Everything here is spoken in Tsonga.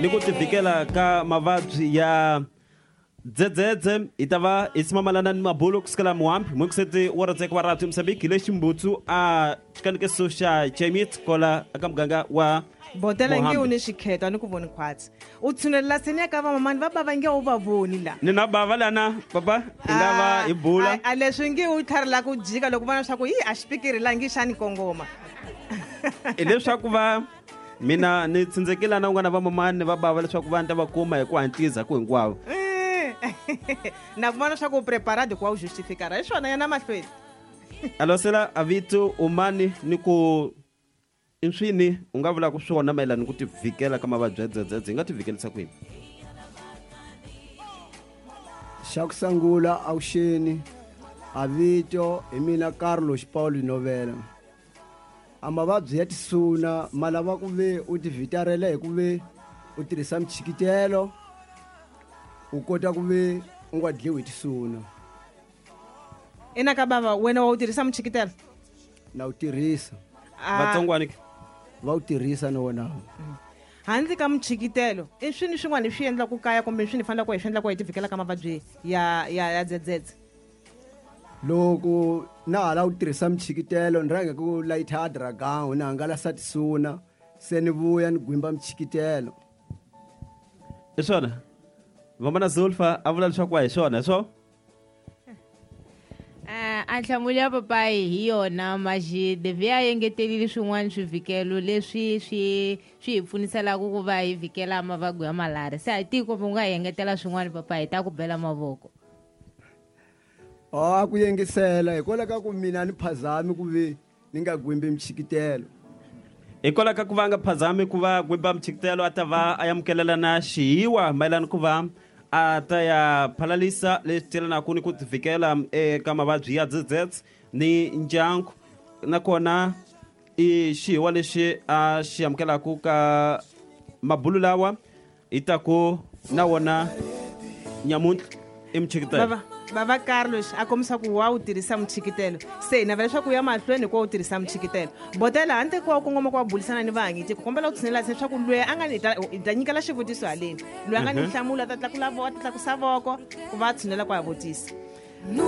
Ni ku tivhikela ka mavabyi ya dzedzedze hi ta va hi simamalana ni mabulo kusukela muhambi mukuseti wa ratseka wa radio Mozambique hi le Ximbutsu a xikanekiso xa Chemit kola aka muganga wa Botela nge Muhambi. u ni xikheto a ni ku voni khwatsi u tshunelela seni ya ka vamamani va bava nge u va voni la. Ni na bava lana papa hi nga va hi bula. A leswi nge u tlharela ku jika loko vona swa ku yi a xipikiri la nge xani kongoma. Hileswaku va mina ni tsindzekile na un'wana va mamani ni va bava leswaku va ni ta va kuma hi ku hatlisa ku hinkwavo. Na ku vona swa ku u preparado ku va u justificara hi swona yana mahlweni. Alosela avito umani ni ku i swini u nga vulaka swona mayelana ni ku tivhikela ka mavabyi ya dzedzedze hi nga tivhikelisa kwini? Xa ku sungula avuxeni a vito hi mina Carlos Paulo Novela. A mavabyi ya tisuna ma lava ku ve u tivhitarela hi ku ve u tirhisa michikitelo u kota ku ve u nga dliwi hi tisuna. Ina ka bava wena wa wu tirhisa muchikitelo? Na wu tirhisa. Vatsongwani ke? Va wu tirhisa na wona. Handle ka muchikitelo i swini swin'wana hi swi endlaku kaya kumbe swini hi faneleke hi swi endla ku hi tivhikela ka mavabyi ya dzedzedze? Loko na ha lava ku tirhisa michikitelo ni rhange ku layitha dragon ni hangalasa tisuna se ni vuya ni gwimba michikitelo. Hi swona vamana Zulfa a vula leswaku a hi swona hi swo? A nhlamulo ya papayi hi yona Majide vi a engetelile swin'wana swivhikelo leswi swi hi pfuniselaka ku va hi vhikela mavabyi ya malaria. Se a hi tivi kumbe u nga hi engetela swin'wana papayi hi ta ku bela mavoko. A ku yengisela hikwalaho ka ku mina ni phazami ku ve ni nga gwimbi michikitelo. Hikwalaho ka ku va nga phazami ku va gwimba michikitelo a ta va a amukelela na xihiwa mayelana ku va a ta ya phalalisa leswi telanaka ni ku tivikela eka mavabyi ya dzedzedze ni ndyangu nakona i xihiwa lexi a xi amukelaka ka mabulu lawa hi ta ku na wona nyamuntlha i muchikitelo. Bava Carlos a kombisa ku wa wu tirhisa muchikitelo se hi navela leswaku u ya mahlweni hikuva u tirhisa muchikitelo. Botela handle ko wa kongoma ku wa bulisana ni vahanyiti ku kombela u tshinela se leswaku loyi a nga ni hi ta nyikela xivutiso haleni loyi a nga ni nhlamulo a ta tlakula a ta tlakusa voko ku va a tshinela ku a vutisa.